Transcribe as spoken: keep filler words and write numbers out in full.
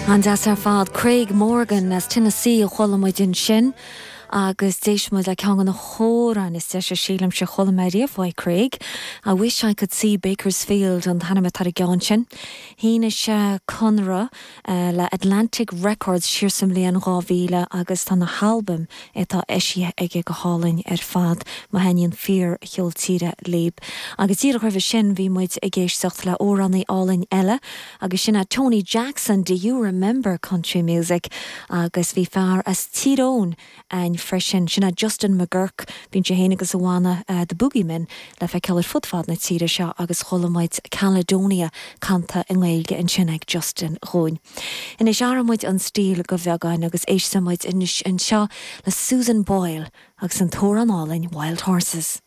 An-deas ar fad Craig Morgan as Tennessee a chuala muid ansin agus d'éist muid le ceann de na hamhráin is deise sílimse a chuala mé riamh uaidh Craig. I wish I could see Bakersfield an t-ainm atá ar an gceann sin. Shínigh sé conradh uh, le Atlantic Records siar sa mbliain dhá mhíle agus tá na halbaim atá eisithe aige go hálainn ar fad má thaitníonn fíorcheol tíre libh. Agus díreach roimhe sin bhí muid ag éisteacht le hamhránaí álainn eile agus sin é Tony Jackson, Do you remember country music? agus bhí fear as Tír Eoghain ann freisin sin é Justin McGurk bíonn sé féin agus a bhanna uh, the Boogeymen le feiceáil ar fud fad na tíre seo agus chuala muid Caledonia canta i nGaeilge ansin ag Justin dúinn. Anois athróidh muid an stíl go beagán agus éistfidh muid anois anseo le Susan Boyle agus an t-amhrán álainn Wild Horses.